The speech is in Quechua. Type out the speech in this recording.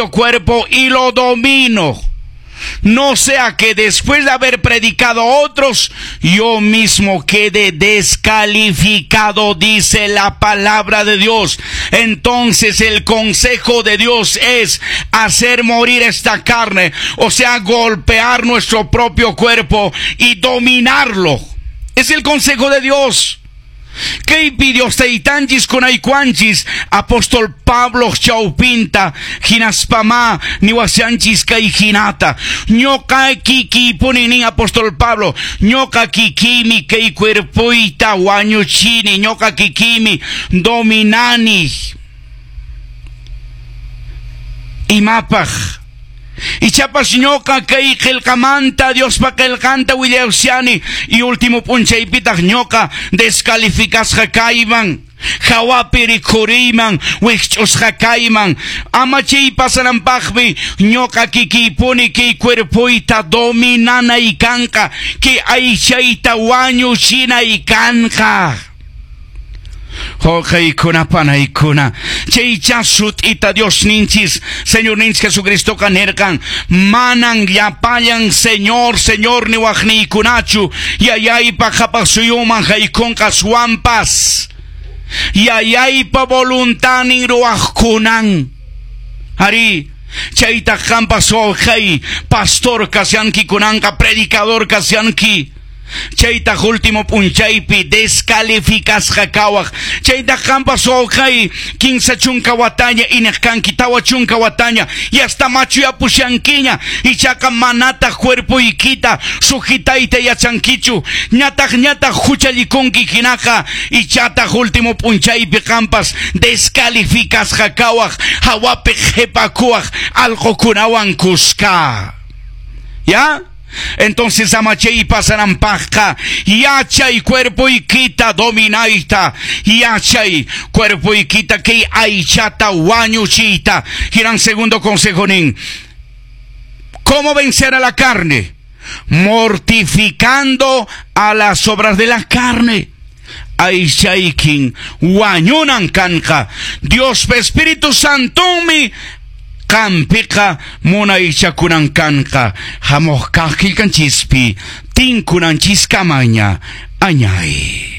Cuerpo y lo domino. No sea que después de haber predicado a otros, yo mismo quede descalificado, dice la palabra de Dios. Entonces el consejo de Dios es hacer morir esta carne, o sea, golpear nuestro propio cuerpo y dominarlo. Es el consejo de Dios. Kaypi Dios taytanchis kunaykuwanchis apóstol Pablo chawpinta hinaspamá niwashanchis kay hinata ñuqa kikiypuni nin apóstol Pablo ñuqa kikiymi kay cuerpoyta wañuchini ñuqa kikiymi dominani imapaq Ichapas ñuqa kay qillqamanta Diospa qillqanta willashani y último p'unchaypitaq ñuqa descalificasqa kayman hawapi rikhuriyman wikch'usqa kayman ama chay pasananpaqmi ñuqa kikiypuni kay cuerpoyta dominanay kanqa kay aychayta wañuchinay kanqa. Wawqiykuna panaykuna chaycha sut'ita Diosninchis Señorninchis Jesucristoqa nirqan manan llapallan Señor Señor niwaqniykunachu yayaypa qhapaq suyuman haykunqa aswanpas yayaypa voluntadnin ruwaqkunan. Arí, chaytaq qanpas wawqay pastor kashanki kunanqa predicador kashanki. Chaytaq último p'unchaypi descalificasqa kawaq. Chaytaq qanpas wawqay 30 wataña iñiq kanki, 40 wataña y hasta machuyapushankiña, ichaqa manataq cuerpoykita sujetayta yachankichu, ñataq ñataq huchallikunki hinaqa, ichataq último p'unchaypi qanpas descalificasqa kawaq, hawapi qhipakuwaq allqukunawan kuska. ¿Ya? Entonces ama chay pasananpaqqa yachay cuerpoykita dominayta, yachay cuerpoykita kay aychata wañuchiyta. Hinan segundo consejo nin, ¿cómo vencer a la carne? Mortificando a las obras de la carne. Aychaykin wañunan kanqa. Dios Espíritu Santomi qampiqa munaychakunan kanqa. Hamuq kaq qillqanchispi tinkunanchiskamalla añay.